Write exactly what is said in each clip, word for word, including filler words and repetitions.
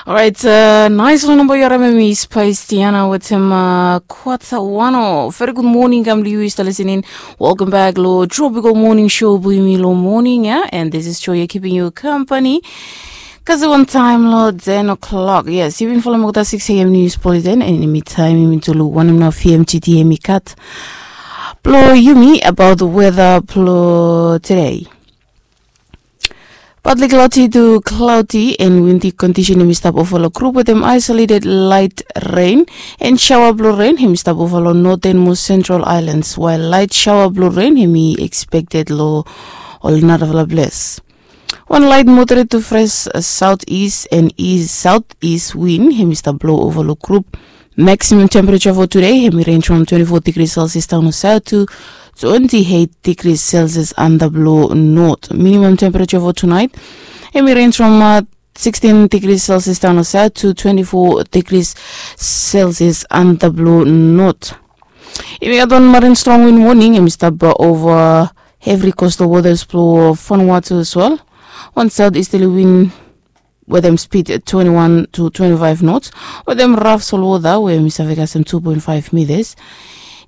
Orait, nais long namba yu harim em i Spice Tiana wetem Kwata Wano. Very good morning kam long yu i stap listening. Welcome back lo Tropical Morning Show blo yumi lo morning ya, and this is Joy keeping you company. Kasi wan taim lo ten o'clock. Yes, yu bin follow mi kota six a.m. news bulletin, and in the meantime yumi tu lo wanem nao P M G T M i kat blo yumi about the weather blo today. Partly cloudy to cloudy and windy condition em i stap ova long group wetem isolated light rain and shower blue rain em i stap ova long northernmost central islands, while light shower blue rain em i expected long all narafala place. One light moderate to fresh southeast and east southeast wind em i stap blow ova long group. Maximum temperature for today em i range from twenty-four degrees Celsius down south to twenty-eight degrees Celsius under blow north. Minimum temperature for tonight em i range from uh, sixteen degrees Celsius down south to twenty-four degrees Celsius under blow north. Yumi gat wan marin strong wind warning em i stap ova every coastal waters blo Vanuatu as well. Wan southeasterly wind wetem speed twenty-one to twenty-five knots wetem raf solwota we em i save kasem two point five meters.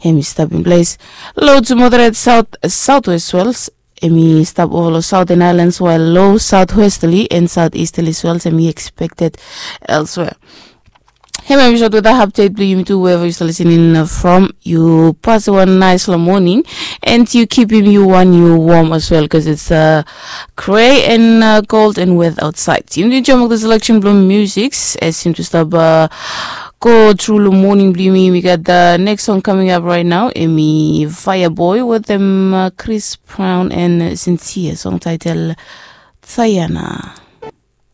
Em i stap in place. Low to moderate south southwest swells em i stap ova long southern islands, while low southwesterly and southeasterly swells em i expected elsewhere. Hemia em i sot weather update blong yumi tu, wherever yu stap listening from. Yu pasim wan nice long morning, and yu kipim yu wan yu warm as well, cause it's uh, gray and uh, cold and wet outside. Yumi tu jam the selection blong music as yumi tu stap uh, go through long morning blong yumi. Yumi gat the next song coming up right now. Em i Fireboy wetem uh, Chris Brown and Sincere, song title Diana.